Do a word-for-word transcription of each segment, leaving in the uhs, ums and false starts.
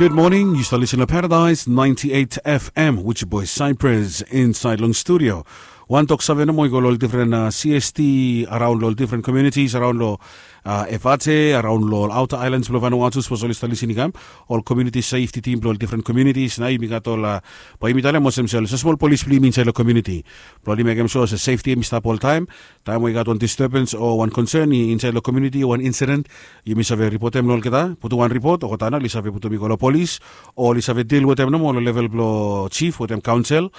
Good morning, yu stap lisin long Paradise ninety-eight F M, which boy Cyprus inside long studio. Wan tok save nomo i go long ol different uh, C S T around long different communities around long uh, F H A, around long outer islands bilong Vanuatu, suppose ol i stap lisin i kam, ol community safety team bilong different communities. Na yumi gat ol uh, bai yumi talem olsem sel, so small police bilong yumi inside long community. Bilong ol i mekem sure se safety em i stap ol time. Taem we i gat wan disturbance o wan concern i insait long community o wan incident, yumi save ripotem long olgeta, putum wan ripot, olgeta nao oli save putum i go long polis, o oli save dil wetem nomo long level bilong chief wetem kaonsel.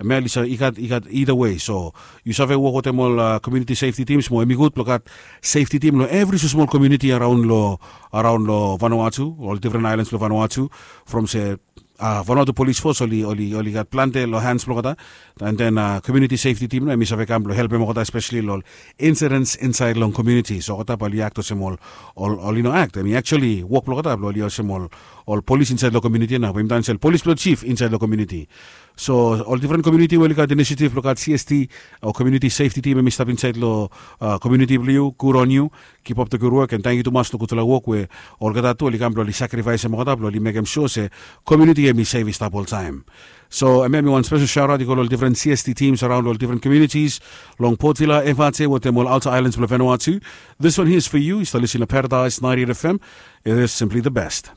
Em ya oli save i gat i gat either way. So yu save wok wetem ol community safety teams mo em i gud blong gat safety team long evri smosmol community araon long araon long Vanuatu, ol different islands bilong Vanuatu, from se uh, Vanuatu Police Force oli oli oli gat plante long hands blong olgeta, and then uh, community safety team na em i save kam blong helpem olgeta, especially long incidents inside long community. So olgeta bai oli act olsem ol ol oli no act, em i actually wok blong olgeta blong oli olsem ol ol polis inside long community na bai mi tan sel polis blong chief inside long community. So ol different community we oli gat initiative blong gat C S T o community safety team em i stap inside long uh, community blong you, good on you. Keep up the good work and thank you tumas long gutpela wok we olgeta tu oli kam blong oli sacrifice em olgeta blong oli mekem sure se community em i safe i stap oltaim. So em em i wan special shout out i go long different C S T teams around all different communities long Port Vila, F R T wetem ol outer islands blong Vanuatu. This one here is for you. I start listening to Paradise ninety-eight F M. It is simply the best.